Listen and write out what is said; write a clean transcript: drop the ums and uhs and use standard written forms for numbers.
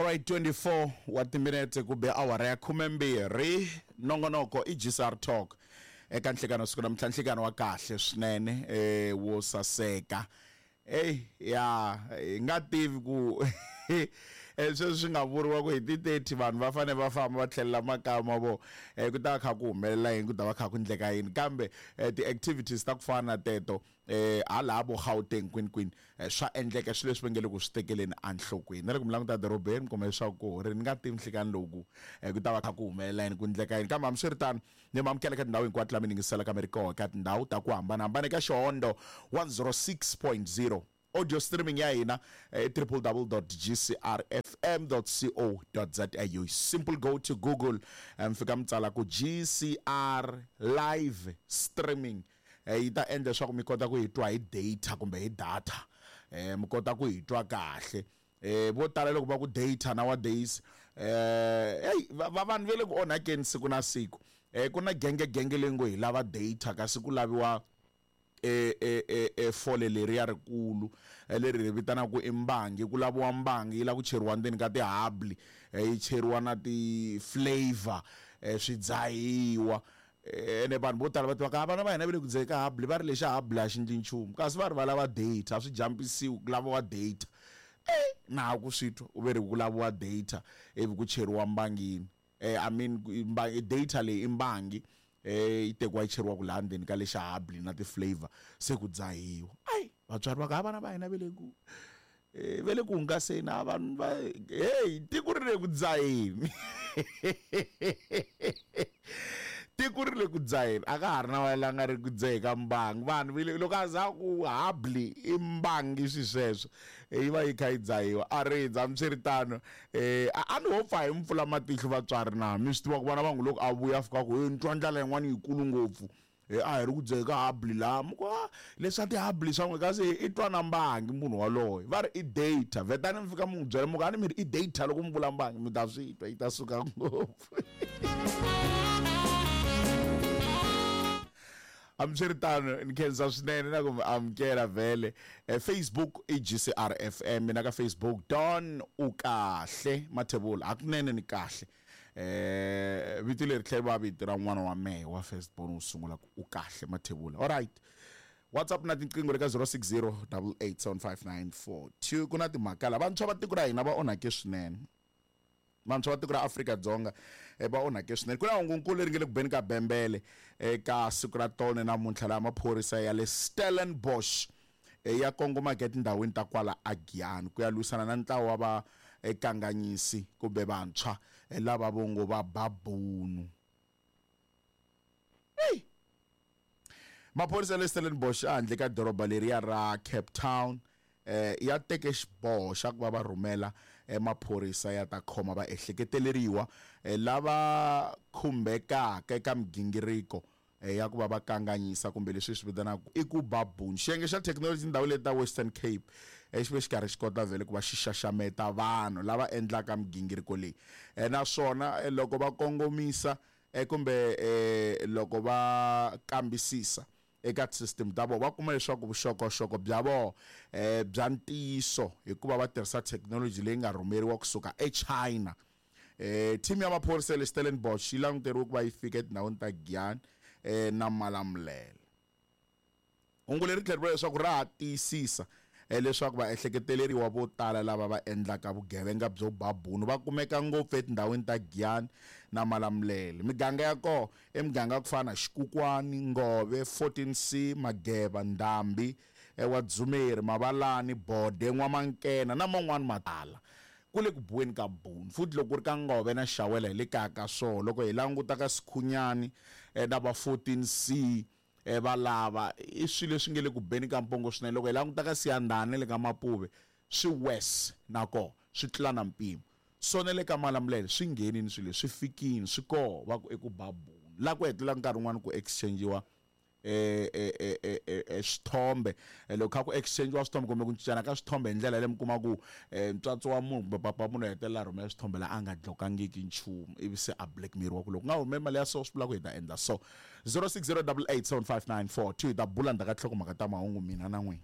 Alright, 24 wa timinete ku be awara ya 12. Nongonoko i GCR Talk eka nhlikano siku namuntlha, nhlikano wa kahle swinene, wo saseka. Ey, ya hi nga tivi ku sweswi swi nga vuriwa ku hi ti 30 vanhu va fanele va famba va tlhelela makaya ma vona, ku ta va kha ku humelela yini, ku ta va kha ku endleka yini, kambe ti-activities ta ku fana na teto, hala vo Gauteng kwini kwini, swa endleka swilo leswi va nge le ku swi tekeleni enhlokweni. Na loko mi languta edorobeni mi kuma leswaku ku ri ni nga tivi nhlikani lowu ku ta va kha ku humelela yini, ku endleka yini. Kambe hambiswiritano ni mi amukela eka tindhawu hinkwato laha mi yingiselaka mi ri kona eka tindhawu ta ku hambanahambana eka Xihondo 106.0. Audio streaming ya hina i www.gcrfm.co.za. You simple go to Google, mi fika mi tsala ku GCR live streaming, yi ta endla leswaku mi kota ku yi twa hi data kumbe hi data, mi kota ku yi twa kahle. Vo tala loko va ku data nowadays, hey, va vanhu va le ku onhakeni siku na siku. Ku na genge genge leyi ngo hi lava data kasi ku laviwa fole leriya rikulu leri ri vitanaka ku i mbangi. Ku laviwa mbangi yi lava ku cheriwa ndzeni ka tihabli, yi cheriwa na ti-flavor, swi dzahiwa. Ene vanhu vo tala va tiva ka vana va hina va le ku dzaheni ka habli, va ri lexa habli a xi endli nchumu, kasi va ri va lava data, a swi jampisiwi, ku laviwa data. Na ha ku swi twa u ve ri ku laviwa data ivi ku cheriwa mbangini. I mean, data leyi i mbangi, yi tekiwa yi cheriwa ku laha ndzeni ka lexa habli na ti-flavor, se ku dzahiwa. Ayi, vatswari va ku, ha vana va hina va le ku, va le ku hungaseni, a vanhu va, hey, tiko ri le ku dzaheni. Tiko ri le ku dzaheni, a ka ha ri na va la nga ri ku dzahe ka mbangi. Vanhu va le, loko a za ku habli i mbangi swi sweswo, yi va yi kha yi dzahiwa. A rindza, hambiswiritano, a ni ho pfa hi mi pfula matihlo vatswari na, mi swi tiva ku vana va n'wi loko a vuya a fika ku, he ni twa ndlala yin'wana yikulu ngopfu, a hi ri ku dzahe ka habli laha, mi ku, ah, leswa tihabli swa n'we, kasi i twa na mbangi munhu waloye. Va ri i data, vhetani mi fika mi n'wi byela mi ku, a ni mi ri i data loko mi vula mbangi, mi ta swi twa, yi ta suka ngopfu. Hambiswiritano ni khensa swinene na ku mi amukela vhele. Facebook i GCR FM, mina ka Facebook Don u kahle Mathebula, hakunene ni kahle. Vito leri tlhela va vito ra n'wana wa mehe wa first born wo sungula ku u kahle Mathebula. All right. WhatsApp na tinqingho le ka zero six zero double eight seven five nine four two. Ku na timhaka la vantshwa va tiko ra hina va onhake swinene. Vantshwa va tiko ra Afrika-Dzonga, va onhake swinene. Ku na hungunkulu leri nge le ku beni ka bembele eka siku ra tolo namuntlha laha maphorisa ya le Stellenbosch, ya kongomaka etindhawini ta kwala aGiyani ku ya lwisana na ntlawa wa vakanganyisi kumbe vantshwa, lava vo ngo va babunu. Hey! Maphorisa ya le Stellenbosch ehandle ka doroba leriya ra Cape Town, ya teke xiboho xa ku va va rhumela maphorisa ya ta khoma vaehleketeleriwa lava khumbekaka eka migingiriko ya ku va va kanganyisa kumbe leswi hi swi vitanaka i ku ba bunu. Xiyenge xa thekinoloji tindhawu leti ta Western Cape, xi ve xi karhi xi kota vhele ku va xi xaxameta vanhu lava endlaka migingiriko leyi, naswona loko va kongomisa, kumbe loko va kambisisa eka ti-system ta vona, va kuma leswaku vuxokoxoko bya vona, bya ntiyiso hikuva va tirhisa thekinoloji leyi nga rhumeriwa kusuka eChina. Team ya maphorisa ya le Stellenbosch yi languteriwe ku va yi fika etindhawini ta Giyani, na Malamulele. Hungu leri tlhela ri vula leswaku ra ha tiyisisa, leswaku vaehleketeleriwa vo tala lava va endlaka vugevenga byo ba bunu va kumeka ngopfu etindhawini ta Giyani na Malamulele. Miganga ya kona i miganga ya ku fana na Xikukwani, Ngove, 14C, Mageva, Ndhambi, Wadzumeri, Mavalani, Bode, N'wamankena na man'wana ma tala. Ku le ku biweni ka bunu. Futhi loko ku ri ka Ngove na Xawela hi le kaya ka swona. Loko hi languta ka Sikhunyani, na va 14C, va lava, i swilo leswi nge le ku beni ka mpongo swinene. Loko hi languta ka Siyandhani na le ka Mapuve, swi worse na kona, swi tlula na mpimo. So na le ka Malamulele swi nghenini swilo leswi, swi fikini, swi koho, va ku i ku ba bunu. Laha ku hetelela nkarhi wun'wani ku exchange-iwa, swithombe. Loko kha ku exchange-iwa swithombe kumbe ku cincana ka swithombe hi ndlela yaleyo, mi kuma ku, ntswatsi wa munhu kumbe papa wa munhu u hetelela a rhumela swithombe laha a nga dlokangiki nchumu, ivi se a blackmail-iwa ku loko u nga humeli mali ya so swi vula ku hi ta endla so. 060 88 75 942 hi ta bula ndzhaku ka tinhlokomhaka ta mahungu mina na n'wina.